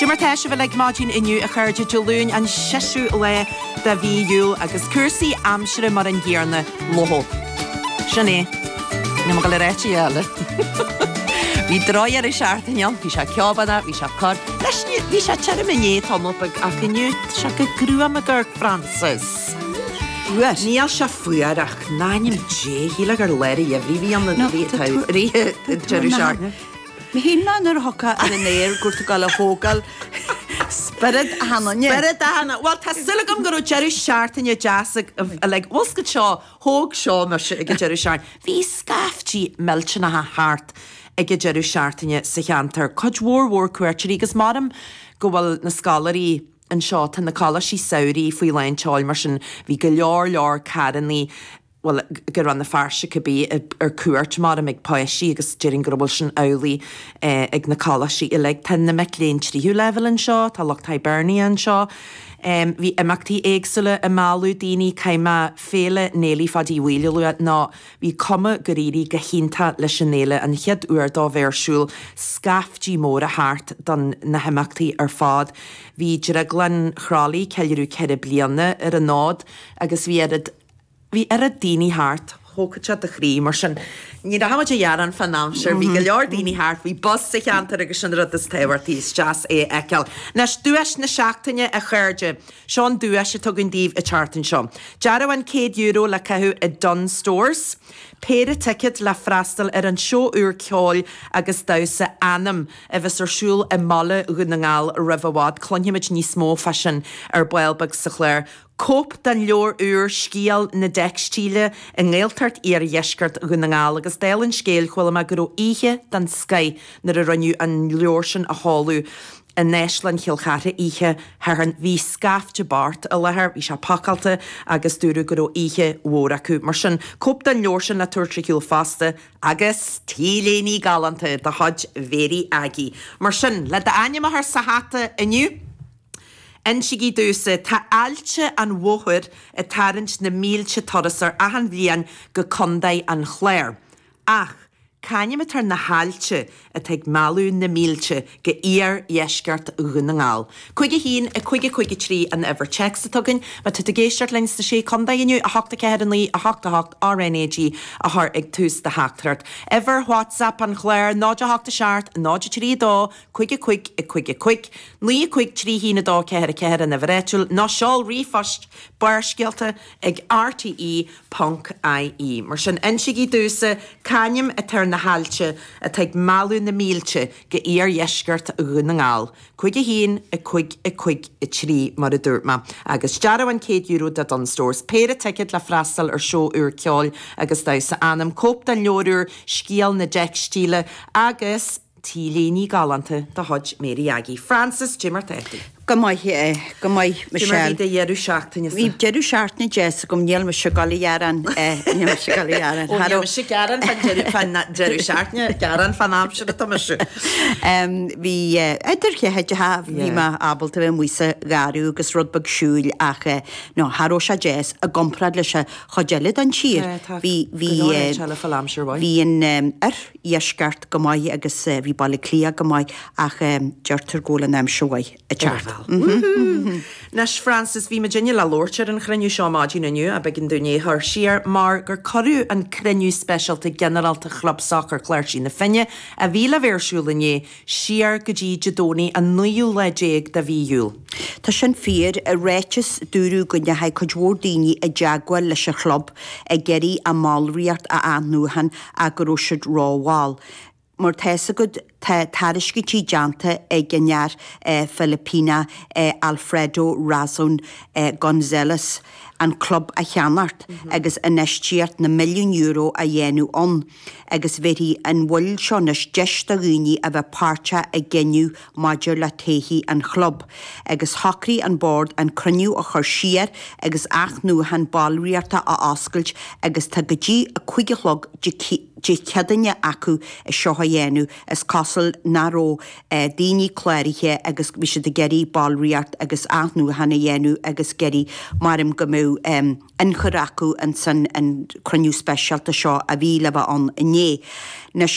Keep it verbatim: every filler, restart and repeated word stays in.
Cad é mar tá sibh uilig maidin inniu a chairde Dé Luain an séú lá de mhí Iúil agus cúrsaí aimsire mar an gcéanna leo. Sin é Ní go le réiti eile. Bhí drochdheireadh seachtaine ann, bhí sé ceobanna, bhí sé cor. Leis bhí sé tirim inné tamall beag ach inniu sé go gruama gur Francis. Fuar. Níl sé fuar ach in ainm Dé shíl gur lár an gheimhridh bhí an deireadh seachtaine. Mi hín ná nuair a thiocfá ar an aer gur tú ag gabháil a thógáil spiorad achan duine. Spiorad achan Well tá súil agam go raibh deireadh seachtaine deas like bhfuil seo thóg seo mise ag an deireadh seachtaine. Bhí scaiftí millteanacha thart ag an deireadh seachtaine sa cheantar. Cuid mhór mhór cuairteoirí agus maram go bhfuil na scoláirí anseo tá na coláistí samhraidh faoi lán tseoil mar sin bhí go leor leor carrannaí well go raibh na fearse cibé ar cuairt mar ag páistí agus déarfainn go bhfuil sin amhlaidh eh, ag na coláistí uilig. Tá na mic léinn tríú leibhéal anseo, tá lucht Hibernia anseo. Um, bhí imeachtaí éagsúla i mealladh daoine caiime féile Néilí Pháidí Mhaoile lua ná bhí cuma gur éirigh go hiontach leis an fhéile an chéad uair dó bheith ar siúl scaiftí móra thart don na himeachtaí ar fad. Bhí Drioglann Chroithlí ceiliúradh ceithre bliana ar an fhód agus bhí oiread bhí oiread daoine thart thógfadh sé do chroí mar sin ní rachaimid a ghearán fán aimsir, bhí go leor daoine thart, bhí bus sa cheantar agus sin rud is tábhachtaí is deas é a fheiceáil. Anois duais na seachtaine a chairde, seo an duais atá againn daoibh an tseachtain seo. Dearbhán céad euro le caitheamh i Dunnes Stores, péire ticéad le freastal ar an seó úr ceoil agus damhsa Anam a bheas ar siúl i mBaile Dhún na nGall roimh i bhfad, cluinfimid níos mó fá sin ar ball beag sa chlár. Cóip den leabhar úr Scéal na Teicstíle i nGaeltacht Iardheisceart Dhún na nGall agus dála an scéil chuala mé go raibh oíche den scoth nuair a rinneadh an leabhar sin a sheoladh in Áislann Chill Chartha oíche Shathairn bhí scaifte bocht i láthair, bhí sé pacáilte agus dúradh go raibh oíche mhór acu. Mar sin cóip den leabhar sin le tabhairt ar shiúl fosta agus T-léine galánta de chuid Mhéirí Aggie. Mar sin le d'ainm a chur sa hata inniu, Insígí domhsa tá Aillte an Mhothair ag tarraingt na mílte turasóir achan bhliain go Contae an Chláir. Ach c'ainm atá ar na haillte atá ag mealladh na mílte go iardheisceart Dhún na nGall. Cúig a haon a cúig a cúig a trí an uimhir téacs atá againn, má tá tú ag éisteacht linn sna sé contae inniu a hocht a ceathair a naoi a hocht a hocht RNAG a chur ag tús do theachtaireacht. Uimhir WhatsApp an chláir náid a hocht a seacht náid a trí dó cúig a cúig a cúig a cúig, naoi a cúig trí haon a dó ceathair a ceathair an uimhir áitiúil nó seol ríomhphost Barrscéalta ag RTE ponc IE. Mar sin insígí domhsa c'ainm atá ar na haillte atá ag mealladh na mílte go iardheisceart Dhún na nGall. Cúig a haon a cúig a cúig a trí mar a dúirt mé. Agus dearbhán céad euro de Dunnes Stores. Péire ticéad le freastal ar seó úr ceoil agus damhsa Anam cóip den leabhar úr Scéal na Teicstíle agus T-léine galánta de chuid Mary Aggie. Francis cad é mar tá tú. Go maith eh, go maith Michelle. Michelle. de deireadh seachtaine Bhí deireadh seachtaine deas agam níl mise ag gabháil a ghearán níl mise ag gabháil a ghearán. Ó níl mise ag gearán fan deireadh seachtaine gearán fan aimsir atá mise. Um, Bhí uh, idir cheide bhí Yeah. mé ábalta bheith amuigh sa gharraí agus rud beag siúil ach eh, no cha raibh sé deas i gcomparáid leis an chuid eile den tír. Bhí bhí eh, fan aimsir mhaith. Bhí an um, iardheisceart go maith agus uh, bhí Baile Átha Cliath go maith ach um, deirtear go bhfuil an aimsir mhaith ag teacht. Anois Francis bhí muidinne le labhairt ar an chruinniú seo maidin inniu a b'éigean dúinn é a chur siar mar gur cuireadh an cruinniú speisialta ginearálta Chlub Sacair Chláirsí na Finne a bhí le bheith ar siúl inné siar go dtí Dé Domhnaigh an naoú lá déag de mhí Iúil. Tá sin fíor i ráiteas dúradh go ndeachaigh cuid mhór daoine i dteagmháil leis an chlub ag iarraidh a mballraíocht a athnuachan ach go raibh siad rómhall. Mar tá a fhios agat tá tairiscintí déanta ag an fhear eh, Filipíneach eh, Alfredo Razon eh, González an club a cheannacht mm -hmm. agus infheistíocht na milliún euro a dhéanamh ann agus bhéarfaidh an mhoill seo anois deis do dhaoine a bheith páirteach i gcinneadh maidir le todhchaí an chlub, agus shocraigh an bord an cruinniú a chur siar agus athnuachan ballraíochta a oscailt agus tá go dtí a cúig a chlog Dé Céadaoine acu é seo a dhéanamh is cosúil nach raibh eh, daoine cláraithe agus bhí siad ag iarraidh ballraíocht agus athnuachan a dhéanamh agus ag iarraidh maram go mbeadh um, ionchur acu an san an cruinniú speisialta seo a bhí le bheith ann inné. Anois